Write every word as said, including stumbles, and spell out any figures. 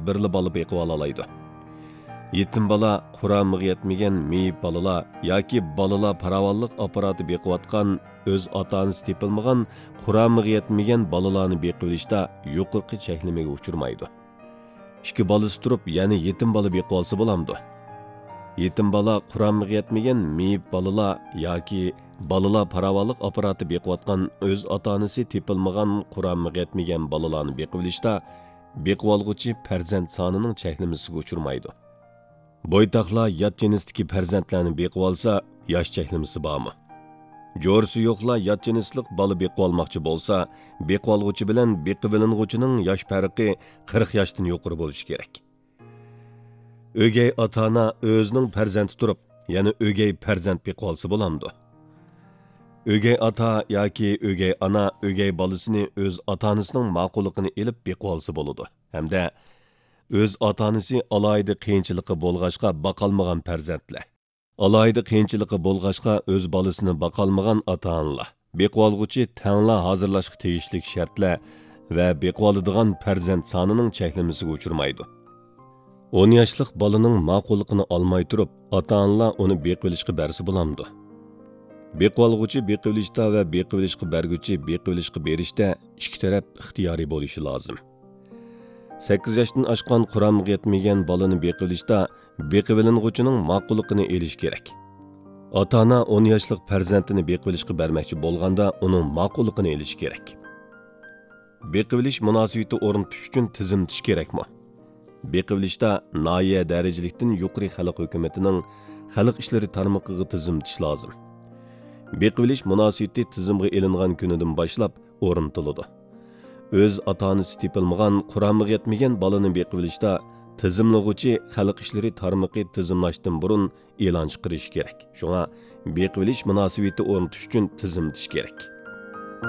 بىرلا بالا بېقىۋالالايدۇ. يېتىم بالا، قۇرامىغا يەتمىگەن مېيىپ بالىلار ياكى بالىلار پاراۋانلىق ئاپپاراتى بېقىۋاتقان، ئۆز ئاتا-ئانىسى تېپىلمىغان، قۇرامىغا يەتمىگەن بالىلارنى بېقىۋېلىشتا يۇقىرىقى چەكلىمىگە ئۇچرىمايدۇ. ئىككى بالىسى تۇرۇپ، يەنە يېتىم بالا بېقىۋالسا بولامدۇ؟ يېتىم بالا، قۇرامىغا يەتمىگەن مېيىپ بالىلار ياكى بالىلار پاراۋانلىق ئاپپاراتى بېقىۋاتقان، ئۆز ئاتا-ئانىسى تېپىلمىغان، قۇرامىغا يەتمىگەن بالىلارنى بېقىۋېلىشتا بېقىۋالغۇچى پەرزەنت سانىنىڭ چەكلىمىسىگە ئۇچرىمايدۇ. بويتاقلار يات جىنستىكى پەرزەنتلەرنى بېقىۋالسا، ياش چەكلىمىسى بارمۇ؟ جورىسى يوقلار يات جىنسلىق بالا بېقىۋالماقچى بولسا، بېقىۋالغۇچى بىلەن بېقىۋېلىنغۇچىنىڭ ياش پەرقى قىرىق ياشتىن يۇقىرى بولۇشى كېرەك. ئۆگەي ئاتا-ئانا ئۆزىنىڭ پەرزەنتى تۇرۇپ، يەنە ئۆگەي پەرزەنت بېقىۋالسا بولامدۇ؟ ئۆگەي ئاتا ياكى ئۆگەي ئانا ئۆگەي بالىسىنى ئۆز ئاتا-ئانىسىنىڭ ماقۇللۇقىنى ئېلىپ بېقىۋالسا بولىدۇ ھەمدە ئۆز ئاتا-ئانىسى ئالاھىدە قىيىنچىلىقى بولغاچقا باقالمىغان پەرزەنتلەر، ئالاھىدە قىيىنچىلىقى بولغاچقا ئۆز بالىسىنى باقالمىغان ئاتا-ئانىلار، بېقىۋالغۇچى تەڭلا ھازىرلاشقا تېگىشلىك شەرتلەر ۋە بېقىۋالىدىغان پەرزەنت سانىنىڭ چەكلىمىسىگە ئۇچرىمايدۇ. ئون ياشلىق بالىنىڭ ماقۇللۇقىنى ئالماي تۇرۇپ، ئاتا-ئانىلار ئۇنى بېقىۋېلىشقا بەرسە بولامدۇ؟ بېقىۋالغۇچى بېقىۋېلىشتا ۋە بېقىۋېلىشقا بەرگۈچى بېقىۋېلىشقا بېرىشتە ئىككى تەرەپ ئىختىيارىي بولۇشى لازىم. سەككىز ياشتىن ئاشقان، قۇرامىغا يەتمىگەن بالىنى بېقىۋېلىشتا بېقىۋېلىنغۇچىنىڭ ماقۇللۇقىنى ئېلىش كېرەك. ئاتا-ئانا ئون ياشلىق پەرزەنتىنى بېقىۋېلىشقا بەرمەكچى بولغاندا ئۇنىڭ ماقۇللۇقىنى ئېلىش كېرەك. بېقىۋېلىش مۇناسىۋىتى ئورنىتىش ئۈچۈن تىزىملىتىش كېرەكمۇ؟ بېقىۋېلىشتا ناھىيە دەرىجىلىكتىن يۇقىرى خەلق ھۆكۈمىتىنىڭ خەلق ئىشلىرى تارمىقىغا تىزىملىتىش لازىم. بېقىۋېلىش مۇناسىۋىتى تىزىمغا ئېلىنغان كۈنىدىن باشلاپ ئورنىتىلىدۇ. ئۆز ئاتا-ئانىسى تېپىلمىغان، قۇرامىغا يەتمىگەن بالىنى بېقىۋېلىشتا تىزىملىغۇچى خەلق ئىشلىرى تارمىقى تىزىملاشتىن بۇرۇن ئېلان چىقىرىشى كېرەك. شۇڭا بېقىۋېلىش مۇناسىۋىتى ئورنىتىش ئۈچۈن تىزىملىتىش كېرەك.